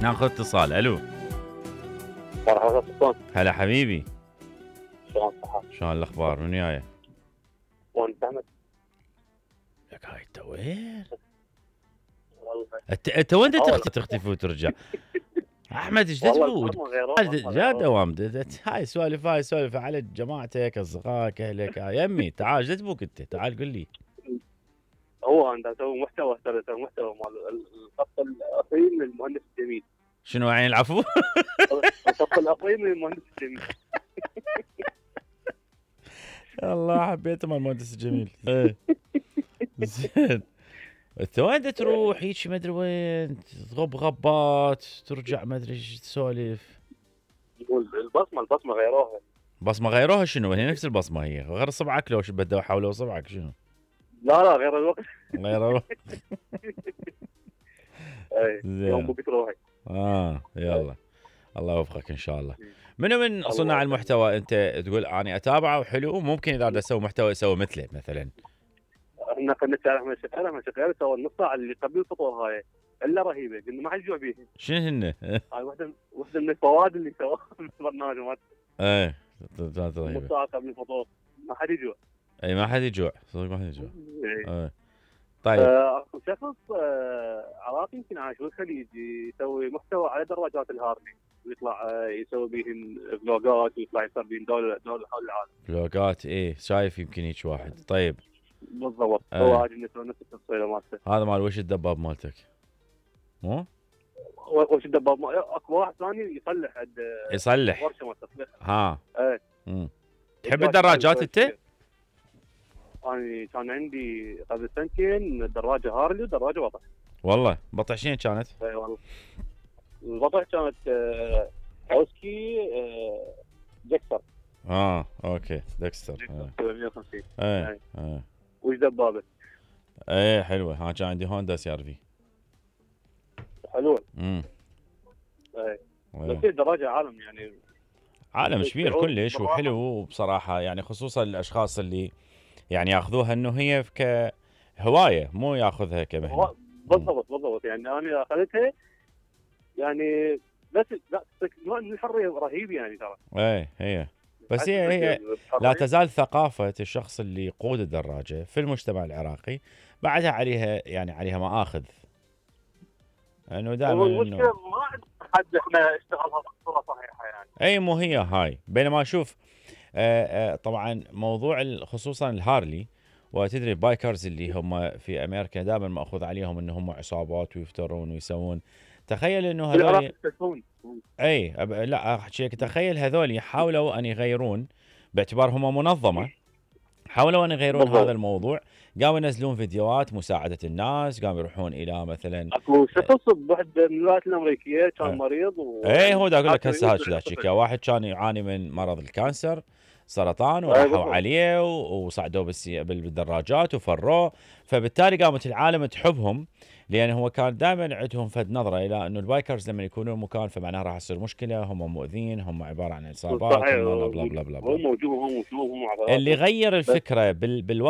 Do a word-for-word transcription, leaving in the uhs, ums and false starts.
ناخذ اتصال. الو مرحبا سلطان. هلا حبيبي، شلون صحة؟ شلون الاخبار؟ من وياي؟ وانت احمد؟ لك هاي انت وين؟ والله انت انت وين أول. تختفي تختفي وترجع؟ احمد ايش والله تبو؟ البصمة غيرها، جا دوام هاي سوالف هاي سوالف على جماعتك اصدقائك اهلك. هاي يمي تعال ايش تبوك انت؟ تعال قل لي. هو انت اسوي محتوى، ترى اسوي محتوى مال الخط الاصيل للمهندس الجميل. شنو عين العفو؟ الخط الاصيل للمهندس الجميل. الله حبيته مال المهندس الجميل. ايه زين. انت وين تروح هيك ما ادري وين تغب غبات ترجع ما ادري ايش تسولف؟ يقول البصمه البصمه غيروها. بصمه غيروها شنو؟ هي نفس البصمه هي غير صبعك لو شو بدوا حولوا صبعك شنو؟ لا لا غير الوقت. غير الوقت. اي يوم بكره روحي. اه يلا الله يوفقك ان شاء الله. منو من صناع المحتوى انت تقول اني اتابعه وحلو ممكن اذا بدي اسوي محتوى اسوي مثله مثلا؟ احنا كنا احمد شغال احمد شغال سوى النص ساعه اللي قبل الفطور هاي الا رهيبه، قلنا ما حد يجوع بيها. شنو هن؟ هاي وحده وحده من الفوائد اللي سواها في البرنامج مالته. ايه نص ساعه قبل الفطور ما حد يجوع. اي ما حد يجوع صدق ما حد يجوع. ايه طيب اكو شخص آه عراقي يمكن عايش بالخليج يسوي محتوى على دراجات الهارلي ويطلع آه يسوي بيهم فلوجات ويطلع يصير بين دول دول حول العالم. فلوجات ايه شايف يمكن هيك واحد. طيب بالضبط آه. هو عاجبني يسوي نفس التصويره مالته. هذا مال وش الدباب مالتك؟ مو؟ وش الدباب مال اكو واحد ثاني يصلح عند يصلح ورشه مال تصليح. ها ايه امم تحب الدراجات انت؟ انا كان عندي قبل سنتين دراجه هارلي ودراجه بطح. والله بطح شنو كانت؟ اي والله البطح كانت آه اوسكي آه دكستر. اه اوكي دكستر مية وخمسين. ايه ايه وش دبابه؟ ايه حلوه. ها كان عندي هوندا سي ار في حلوه. امم ايه بس هي دراجه عالم يعني عالم كبير كلش وحلو وبصراحه يعني خصوصا الاشخاص اللي يعني ياخذوها انه هي كهوايه مو ياخذها كمهنه. بالضبط بالضبط يعني انا اخذتها يعني بس لا نوع من الحريه رهيب يعني ترى. ايه هي بس هي هي لا تزال ثقافه الشخص اللي يقود الدراجه في المجتمع العراقي بعدها عليها يعني عليها مآخذ انه دائما المشكله ما عند حد احنا اشتغلها بصوره صحيحه يعني. اي مو هي هاي. بينما شوف آآ آآ طبعا موضوع خصوصا الهارلي وتدري البايكرز اللي هم في امريكا دائما ماخوذ عليهم ان هم عصابات ويفترون ويسوون. تخيل انه هذول اي لا احكي لك تخيل هذول حاولوا ان يغيرون باعتبارهم منظمه حاولوا ان يغيرون بالضبط. هذا الموضوع قاموا ينزلون فيديوهات مساعده الناس قاموا يروحون الى مثلا اكو شخص بواحد من الولايات الامريكيه كان أه. مريض و... اي هو دا اقول لك هسه هذا احكيك واحد كان يعاني من مرض الكانسر سرطان وراحوا عليه وصعدوه بالدراجات وفروه. فبالتالي قامت العالم تحبهم لان هو كان دائما عندهم فد نظره الى انه البايكرز لما يكونون مكان فمعناه راح تصير مشكله هم مؤذين هم عباره عن عصابات هم بلا بلا بلا هم موجود هم موجود هم اللي غير الفكره بال بالوضع